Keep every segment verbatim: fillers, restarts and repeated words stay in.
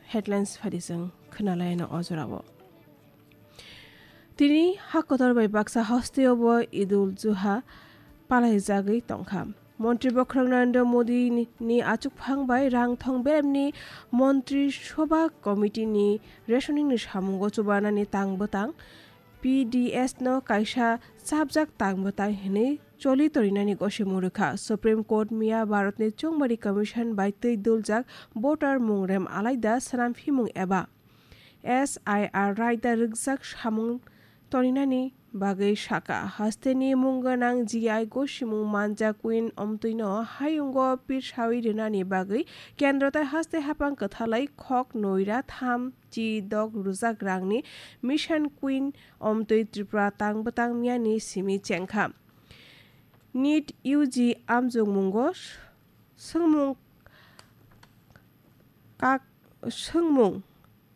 Headlines phadi chwng khwnalaino o jorao. Tini ha kotor bai baksa hasteo bo Idul Juha palaijagwi tongkha. Montri Bokhorok Narendra Modi ni, ni achukphang bai rang thong beremni Montri Sobha Committee ni rationing ni samungo chubanani tang bwtang P D S no kaisa chapjak tang bwtang hinwi choli torinani gosimung rwkha. Supreme Court miya Bharatni Chongmari Commission bai twi duljak voter mungrem alaida swnamphimung eba S I R raida rwkjak samung toninani bagwi sakha. Hasteni mung gwnang G I gosimung manjak Queen Omtwino hayungo pirsawi rwnani bagwi kendro tai haste haphang kwthalai khok noira tham chi dok rwjak rangni Mission Queen Omtwi Tripura tang bwtang miyani simi chengkha. NEET U G amjokmungo swngmung kak-, swngmung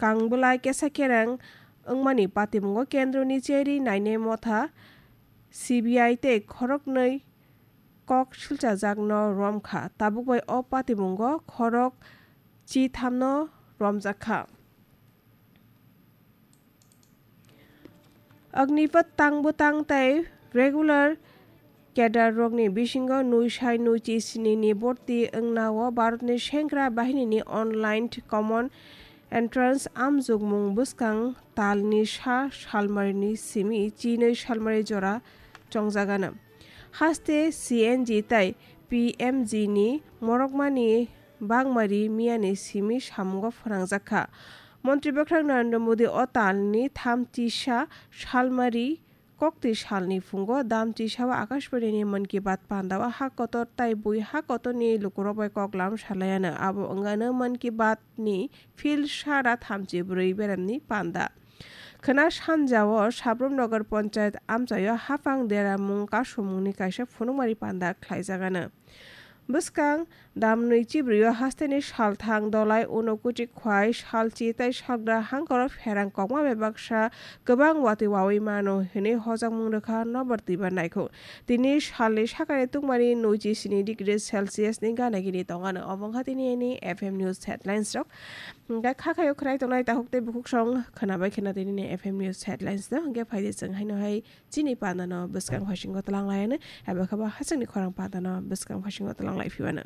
kangbwlai kesa kereng wngmani patimungo kendroni cherwi nainai motha C B I tei khoroknwi kok silchajakno romkha. Tabuk bai o patimungo khorok chithamno romjakha. Agnipath tang bwtang tei regular cadre rokni bisingo nui sai nui chi sini ni borti wngnao Bharatni Sengkra Bahinini online common entrance amjokmung bwskang talni sa salmarini simi chinwi salmari jora chongjagano. Haste C N G tei P M G ni morokmani bangmari miyani simi samungo phwrangjakha. Montri Bwkhwrang Narendra Modi o talni thamchisa salmari koktwi salni phungo damchisao Akashbani ni Mann Ki Baat pandao ha kotor tai bui ha kotorni lukurok bai koklam salaiano. Abo wngano Mann Ki Baat ni field sara thamchi bwrwi beremni panda. Khwna sanjao Sabrum Nagar Panchayat amchaio haphang deramung kasumungni kaisa phunukmari panda khlaijagano. Bwskang damnwi chibrio hasteni salthang dolai Unokuchi khwai salchi tei salgra hangkoro pherang kokma bai baksa kwbang watwi wawi mano hinwi hojakmung rwkha nobar twibar naikhuk. Tini salni sakani tungmani nui chi sini degree Celsius ni gana gini tongano. Obo wngkha tini ani F M News headlines rok. Hingkhe kha khayo khwnai tongnai takhuk tei bukhuk song khwnabai khwna tini ni F M News headlines no. Hingkhe phaidi chwng haino hai chini pandano bwskang phasingo twlang laiano. Abo khe bo hachwkni khorang pandano bwskang phasingo twlang lai phibano.